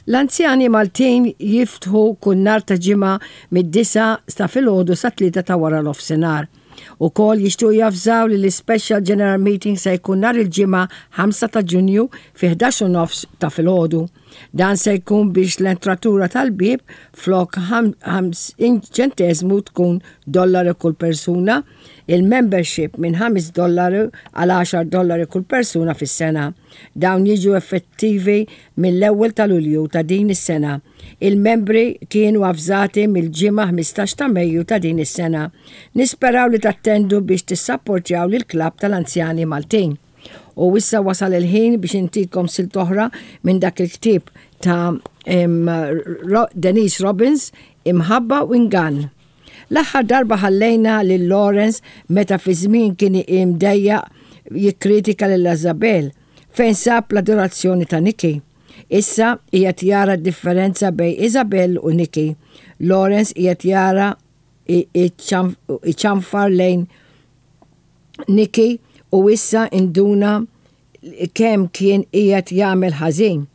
L-anzjani Maltin jiftħu kull nhar ta' Ġimgħa mid-disgħa ta' filgħodu sat-tlieta ta' wara nofsinhar. Ukoll jixtiequ javżaw li l-Special General Meeting se jkun nhar il-Ġimgħa 5 ta' Ġunju fi 11 u nofs ta' filgħodu. Dan se jkun biex l-entratura tal-bieb flok 50 ċenteżmu tkun dollaru kull persuna, il-membership minn 5 dollaru għal 10 dollari kull persuna fis-sena. Dawn jiġu effettivi mill-ewwel ta' Lulju ta' din is-sena. Il-membri kienu avżati mill-Ġimgħa 15 ta' Mejju ta' din is-sena. Nisperaw li tattendu biex tissapportjaw lill-Klabb tal-Anzjani Maltin. U issa wasal il-ħin biex intikom silt oħra minn dak il-ktieb ta' Denise Robbins, Imħabba u Ingann. L-aħħar darba ħallejna lil Lawrence meta fi żmien kien imdejjaq jikkritika lil Isabel fejn sab l-adorazzjoni ta' Nikki. Issa qiegħed jara d-differenza bejn Isabel u Nikki. Lawrence qiegħed jara iċanfar lejn Nikki u issa induna kemm kien qiegħed jagħmel ħażin.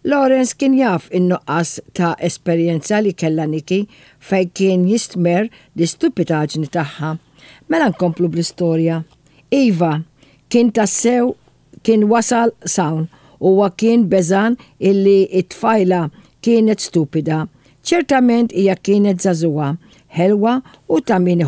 Lawrence kien jaf in-nuqqas ta' esperjenza li kellha Nikki fejn kien jistmerr l-istupitaġni tagħha. Mela nkomplu bl-istorja. Iva, kien tassew kien wasal s'hawn. Huwa kien beżgħan illi t-tfajla kienet stupida. Ċertament hija kienet żagħżugħa, ħelwa u ta' min.